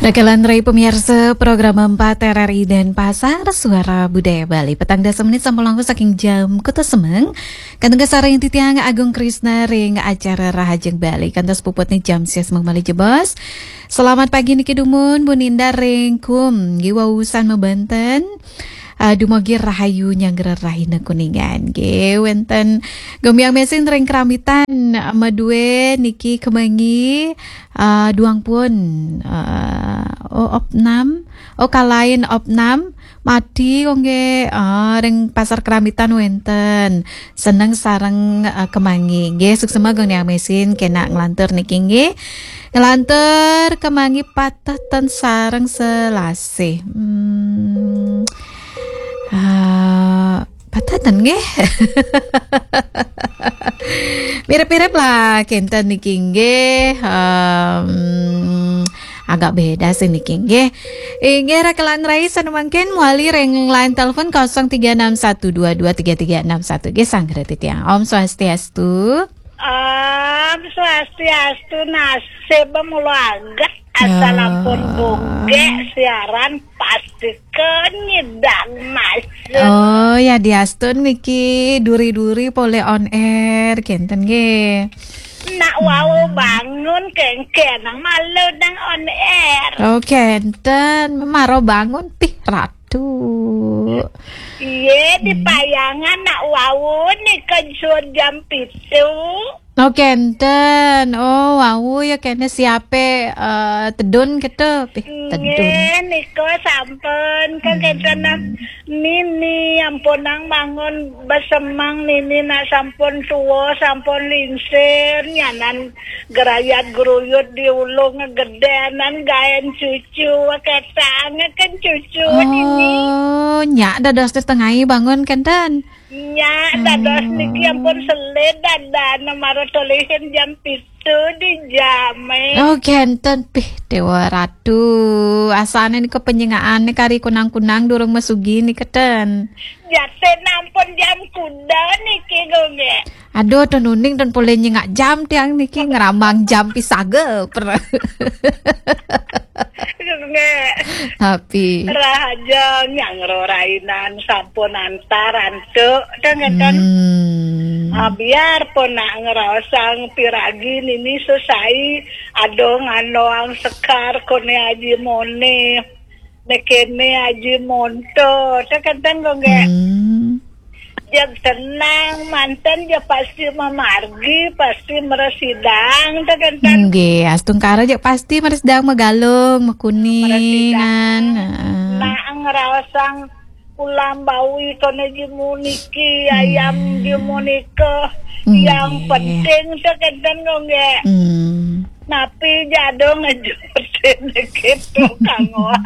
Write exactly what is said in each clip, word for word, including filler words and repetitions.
Kalantaran pemirsa program empat R R I Denpasar, Suara Budaya Bali. Petang dasa menit sampun langkung saking jam kutus semeng. Kantun kasarengin titiang Agung Krisna ring acara Rahajeng Bali. Kantos puputne jam sia semeng malih jebos. Selamat pagi niki dumun, Bu Ninda ring Kum, nggih wau usan mabenten. Eh, dumugi rahayu nyanggra rahina Kuningan. Nggih, wenten gombiang mesin ring Kerambitan, eh, madue niki kemangi, eh, duang pun, eh, oh, opnam, oh, kalain opnam, mati kok nggih, eh, ring Pasar Kerambitan wenten. Seneng sareng, eh, kemangi. Nggih, suksma gombiang mesin, kena nglantur niki nggih. Nglantur kemangi pateh ten sareng selasih. Hmm. Ah, pateh ten nggih. Mirip-mirip lah kenten niki nggih. Em, agak beda sih niki nggih. Inggih, rekelan rai sane mangkin mawali ring line telepon kosong tiga enam satu dua dua tiga tiga enam satu. Nggih, sanggra titiang. Om Swastiastu. Om Swastiastu, nasib mula agak asal ampun buke siaran pasti ke nyidang mas. Oh, ya diastun niki duri-duri polih on air kenten nggih. Nak wau bangun kengken nang malu nang on air. Oh, kenten, maro bangun pih ratu. Iye, di payangan nak wau nika jur jam pitu. Oh, kenten. Oh, wau ya kene siape, eh, tedun gitu. Pih, tedun. Nggih, nika sampun kan kenten nini ampunang bangun besemang nini nak sampun tua, sampun lingsir, nyanan gerayat geruyut di ulung gedenan gaen cucu, ketang kan cucu nini. Oh, nyak dados tetengai bangun kenten. Nyak dados niki ampun selid dadane mara tolihin jam pitu di jame. Oh, kenten pih Dewa Ratu. Asane nika penyenggaane kari kunang-kunang durung mesugi nika ten. Jate nampun jam kuda niki, Gung, nggih. Aduh, ten uning ten polih nyengak jam tiang niki ngeramang jam pisaga. Per- Nggih. Tapi rahajeng nyanggra rainan sampun antar antuk, ten ngeten. Hmm. Ah, biar pun nak ngraosang piragi nini sesai, aduh nganoang sekar kone Aji Mone. Nekene Aji Monto, ten kenten, Gung, nggih. Hmm. Jeg tenang, manten jeg pasti mamargi, pasti mresidang, ten kenten. Nggih, astungkara jeg pasti mresidang magalung, makuningan. Mresidang. Heeh. Nak ngraosang ulam bawi kone jimu niki, ayam jimu nika. Nggih. Yang penting, ten kenten, Gung, nggih. Hmm. Napi jadong ngejutin gitu, Kang Wah.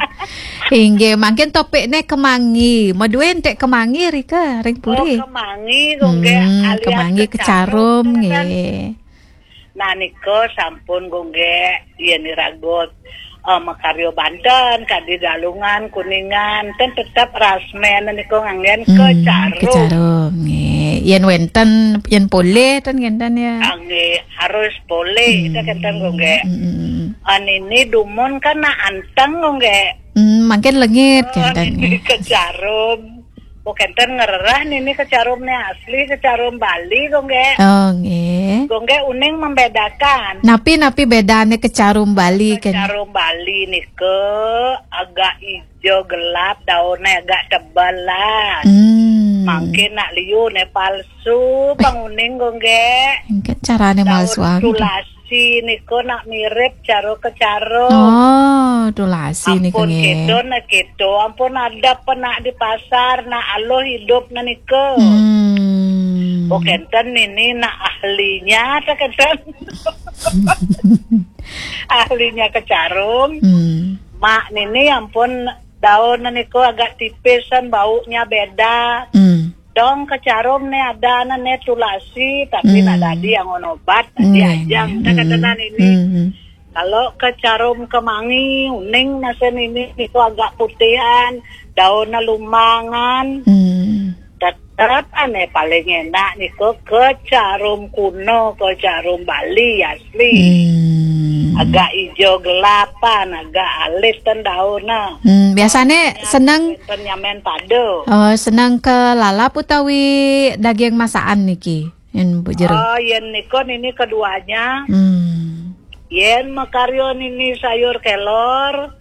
Inggih, mangkin topikne kemangi. Madue entek kemangi rika ring puri. Oh, kemangi, Gung, nggih, hmm, alias kemangi kecarum, kecarum, ten kenten. Nggih. Nah, nika sampun, Gung, nggih, yen iraga, eh, makarya banten, kadi Galungan, Kuningan, ten tetep rasmen nika nganggen, hmm, kecarum. Kecarum, nggih. Yen wenten, yen polih ten ngenten ya. Ah, nggih, harus polih, hmm, ten kenten, Gung, nggih. Hmm, hmm, hmm. Ah, nini dumun kan nak anteng, Gung, nggih. Hmm, mangkin lengit, oh, kenten, nggih. Kecarum. Oh, kenten ngrereh nini kecarum ne asli, kecarum Bali, Gung, nggih. Oh, nggih. Gung, nggih, uning membedakan. Napi, napi bedane kecarum Bali, ken? Kecarum Bali nika agak ijo gelap, daunnya agak tebal lah. Hmm. Mangkin nak liu ne palsu, pang uning, Gung, nggih. Engke carane daun malsuang, tulasi. Tulasi nika nak mirip cara kecarum. Oh, tulasi nika, ampun nggih. Keto nak keto, ampun ada penak di pasar, nak aluh hidup nak nika. Hmm. Oh, kenten nini nak ahlinya, tak kenten. Ahlinya kecarum. Hmm. Mak nini ampun daun nika agak tipisan, baunya beda. Hmm. Dong kecarum ne ada ne tulasi, tapi, hmm, nak dadi yang obat, dadi, hmm, ajang, hmm, tak kenten nini. Hmm. Kalau kecarum kemangi, uning masa nini niku agak putihan, daunnya lumangan. Hmm. Tet-, Tetep ane paling enak niko kecarum kuno, kecarum Bali asli. Hmm. Agak ijo gelapan, agak alit ten daun nah. Hmm, biasane seneng, ten nyamen pado. Oh, seneng ke lalap utawi daging masakan niki, yen Bu Jero? Oh, yen niko nini keduanya. Hmm. Yen makaryo nini sayur kelor,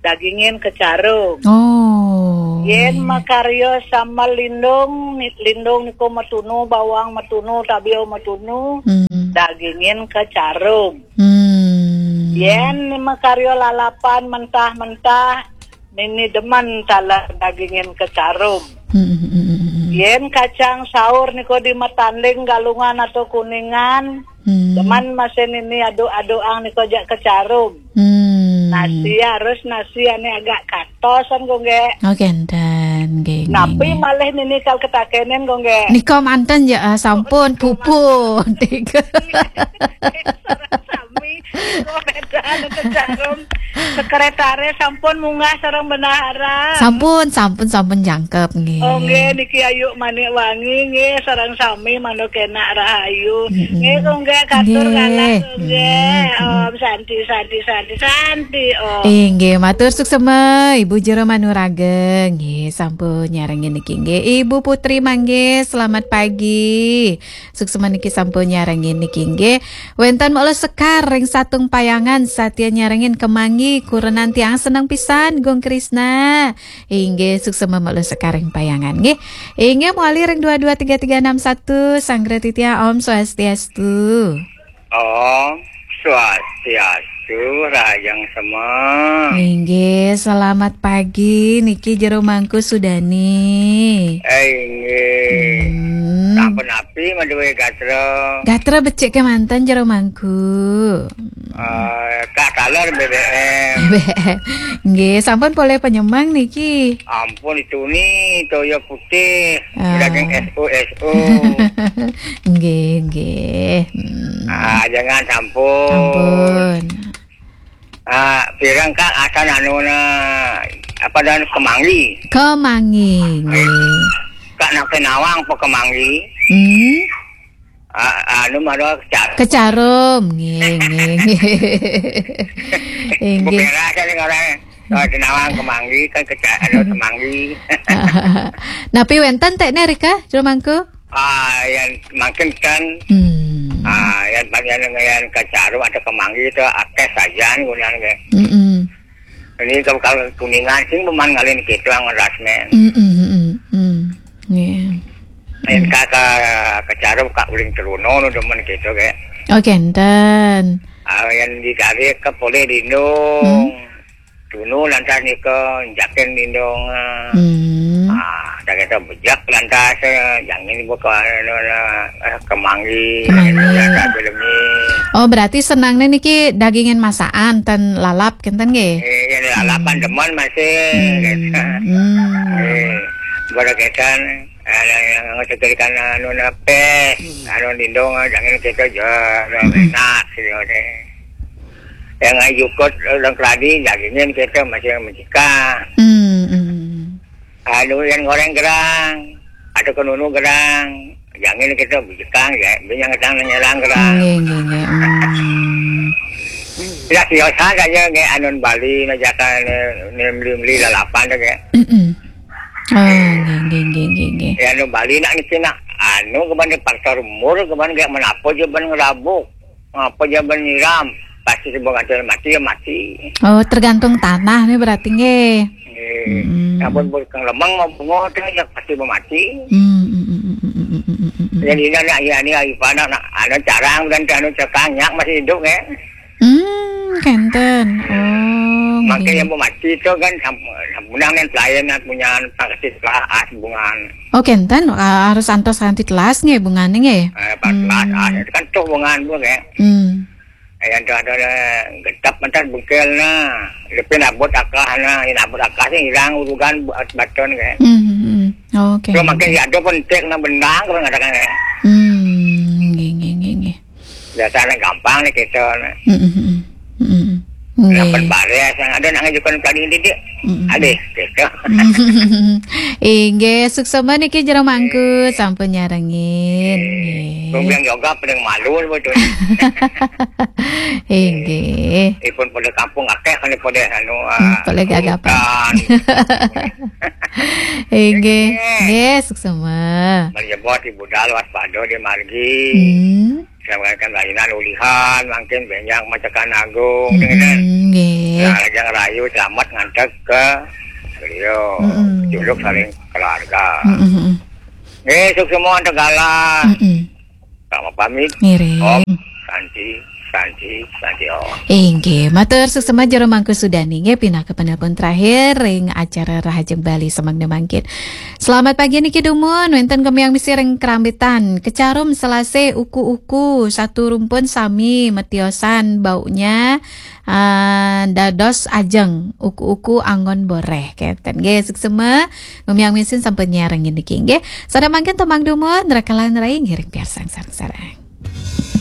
dagingin kecarum. Oh. Yen makaryo sambal lindung, ni- lindung niko matunu, bawang matunu, tabio matunu, hmm, dagingin kecarum. Hmm. Yen makaryo lalapan mentah-mentah, nini demen taler dagingin kecarum. Hmm, hmm, hmm, hmm, hmm. Yen kacang saur niko di Matanding, Galungan atau Kuningan, hmm, demen masih nini aduk-adukan niko jak kecarum. Hmm. Nasi harus nasi ane agak katosan kok, nggih. Oh, kenten, nggih, nggih, napi nggih. Malih nini kal ketakenen kok, nggih. Nika manten ya, ah, sampun puput. Sareng sami, kok beda anu kecarum. Sekretare sampun munggah sareng bendahara. Sampun, sampun, sampun jangkep, nggih. Oh, nggih, niki Ayu Manik Wangi, nggih, sareng sami manuk enak rahayu. Mm-mm. Nggih, kok nggih, katur, nggih, kalah, kok nggih. Mm-mm. Om Santi, Santi, Santi, Santi, Om. Inggih, matur suksema, Ibu Jero Manuraga. Nggih, sampun nyarengin niki, nggih. Ibu Putri Manggis, selamat pagi. Suksema niki sampun nyarengin niki, nggih. Wenten Mak Lo Sekar ring Satung Payangan, satia nyarengin, kemangi, kurenan tiang seneng pisan, Gung Krisna. Inggih, suksema Mak Lo Sekar ring Payangan, nggih. Inggih, mawali ring dua dua tiga tiga enam satu, Sanggra Titiang, Om Swastiastu. Om Swastiastu, rahajeng sema. Inggih, selamat pagi, niki Jero Mangku Sudani. Eh, inggih. Hmm. Sampun napi madué gatra? Gatra becik kemanten, Jero Mangku. Eh, Kak, taler B B M. Nggih, sampun polih penyemang niki. Ampun, itu ni toya putih, ah, daging S O S O. Nggih, nggih. Hmm. Ah, jangan sampun. Ampun. Ah, pirang, Kak, asan anu na, apa dan, kemangi. Kemangi, nggih. Kak, nak nawang apa kemangi? Hmm. Ah, anu, mara kecar- Kecarum, nggih, nggih, nggih. Inggih. Beberas aja ning orang. Ah, nawang kemangi kan kecar-, anu, kemangi. Napi wenten tekne rika, Jero Mangku? Ah, yang mangkin kan. Hmm. Ah, yang bagian yang kecarum atau kemangi itu akeh sajan gunane. Mm-mm. Ini kalau, kalau Kuningan sing peman ngalih kita ngeras, men. Mm-mm, mm-mm, mm. Nggih. Yen, hmm, Kak, Kak, kecarum Kak uling teruno no demen kita, kayak. Oh, kenten. Ah, yang ditarik ke poleh dindung. Hmm. Tunu lantas nika, jaken dindung, ah. Hmm. Ah, tak kata bejak lantas, eh, jangan buka, anu, anu, eh, kemangi, kemangi. Anu, lantas belemi. Oh, berarti senangne niki dagingin masakan, ten lalap, kenten nggih? Eh, ya, lalapan, hmm, demen masih, hmm, gitu. Hmm. Eh, berkaitan, eh, yang ngetetirkan anu, napes, hmm, anu, dindung, eh, jangan kita jual, hmm, enak, gitu, deh. Yang ayukut orang keladi, dagingin kita masih mencika. Hmm, hmm. Anu yang goreng gerang, atau ke nunu gerang, jangan kita bujekang, ya, binyang tang nyelang gerang. Nggih, nggih, nggih. Hmm. Ya, siosan saja, nggih, anun Bali, najakan, eh, ni meli-meli lalapan tu, nggih. Mm-mm. Oh, nggih, nggih, nggih, nggih, nggih. Ya, anun Bali nak niki nak, anu, keban faktor umur, keban nggih menapa je ben ngerabuk. Apa je ben nyiram, pasti sebab ada mati, ya mati. Oh, tergantung tanah ni berarti, nggih. Nggih. Hmm. Sampun pun kang lemeng mau bunga tu, ya pasti mau mati. Hmm, hmm, hmm, hmm, hmm, hmm, hmm, hmm, hmm. Jadi, ini anak, ya, ini, ayu panak, nak, anu, carang, dan anu, cekang, nyak masih hidup, nggih. Hmm, kenten. Oh, makanya nggih. Yang mau mati tu kan, sam-, sampunang yang pelayan, nak punya, tak kasih telah, ah, hubungan. Oh, kenten, ah, harus antos kanthi telas nggih bungane nggih. Eh, pas telas, hmm, ah, itu kan tuh bungan tu, nggih. Hmm. Eh, yang tu ada, ada getap, mentas bengkel, nah. Lepin abot akah, nah. Yang abot akah sih hilang urugan buat baton, nggih. Hmm, hmm, hmm. Oh, oke. Kalau makin ya ada penting, nah, bendang, kalau ngatakan, nggih. Hmm, nggih, nggih, nggih, nggih. Biasanya gampang ni kita, nah. Hmm, hmm, hmm. Hmm, hmm. Nggih. Dapat baris yang ada nak ngajukan tadi ini dia. Mm-mm. Ada, gitu. Inggih, suksma niki Jero Mangku sampun nyarengin. Nggih. Gua bilang yoga paling malu betul. Inggih. Ipun pada kampung akeh kan pada anu, hmm, ah, pada gagapan. Inggih. Nggih, suksma. Menyebut ibu dalu waspada di margi. Hmm. Saya mengatakan layanan ulihan, mungkin benjang macakan agung, dengan nggih. Nah, lajang rayu selamat ngantek ke beliau. Mm-mm. Juluk saling keluarga. Mm-mm. Nggih, suksma untuk galah. Mm-mm. Sama pamit. Ngiring. Om Santi, Santi, Santi Om. Inggih, matur suksma Jero Mangku Sudani nggih pinaka penelpon terakhir ring acara Rahajeng Bali semangke mangkin. Selamat pagi niki dumun, wenten kemiang misi ring Krambitan. Kecarum selase uku-uku, satu rumpun sami metiosan baunya, ah, dados ajeng uku-uku anggon boreh keten. Nggih, suksma, ngemiang misi sampun nyarengin niki nggih. Sada mangkin temang dumun, rekalan rai ngiring piarsang sareng-sareng.